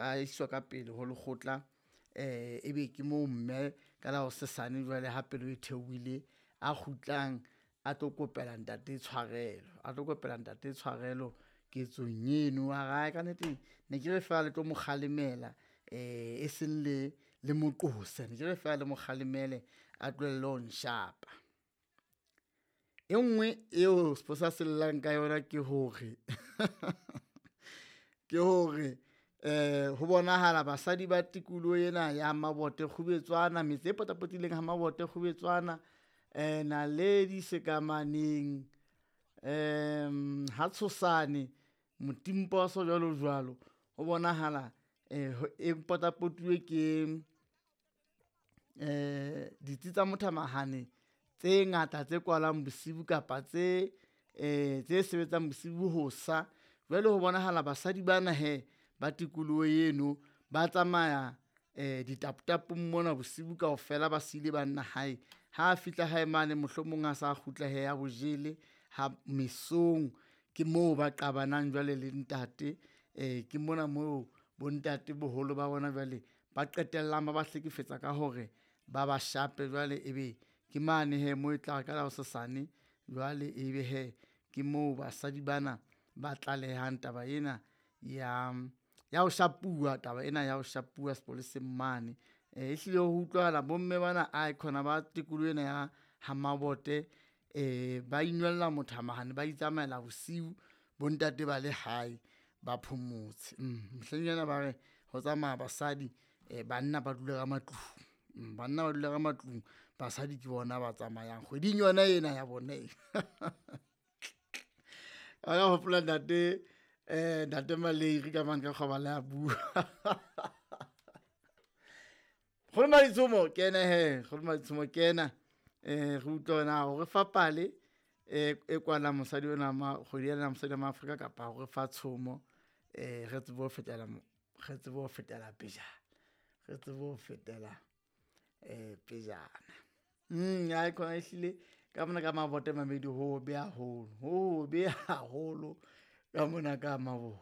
a iswa ka pele ho lekgotla. Ebe ke moo mme ka la hosesane jwale ha pelo e theohile a kgutlang a tlo kopela ntate tshwarelo, a tlo kopela ntate tshwarelo ketsong eno. A re ae ka nnete ne ke re fela le tlo mo kgalemela e seng le le mo qose, ne ke re fela le mo kgalemele a tlohelle ho nshapa. E nngwe eo sepolesa se llang ka yona ke hore ke hore ho bonahala basadi ba tikoloho ena ya Mabote Kgubetswana, metse e potapotileng ha Mabote Kgubetswana, Naledi, Sekamaneng, ha Tshosane, Motimposo jwalo jwalo. Ho bonahala e potapotuwe ke ditsi tsa mothamahane tse ngata tse kwalang bosiu kapa tse tse sebetsang bosiu ho sa. Jwale ho bonahala basadi bana hee ba tikoloho eno ba tsamaya ditapotapong mona bosiu kaofela, ba siile banna hae. Ha fihla hae mane mohlomong a sa kgutla hee a bo jele ha mesong, ke moo ba qabanang jwale le ntate. Ke mona moo bontate boholo ba bona jwale ba qetellang ba ba hlekefetsa ka hore ba ba shape jwale ebe ke mane hee moo e tla re ka la hosasane jwale ebe hee ke moo basadi bana ba tlalehang taba ena ya ya ho shapuwa, taba ena ya ho shapuwa sepoleseng mane. Ehlile ho utlwahala bomme bana aekhona ba tikoloho ena ya ha Mabote ba inwella mothamahane, ba itsamaela bosiu bontate ba le hae ba phomotse. Mehleng ena ba re ho tsamaya basadi banna ba dula ka matlung, banna ba dula ka matlung, basadi ke bona ba tsamayang kgweding yona ena ya bone ena. Ka hopola ntate ntate Maleiri ka mane ka kgobala ya bua. Nkgono Maditshomo kena hee, nkgono Maditshomo kena re utlwe hore na o re fa pale e kwalang mosadi ona ma kgwedi ena ya mosadi wa Maafrika kapa o re fa tshomo re tsebe ho fetela re tsebe ho fetela pejana, re tsebe ho fetela pejana. Aekhona ehlile ka mona ka Mabote mamedi ho hobe haholo, ho hobe haholo ka mona ka Mabote.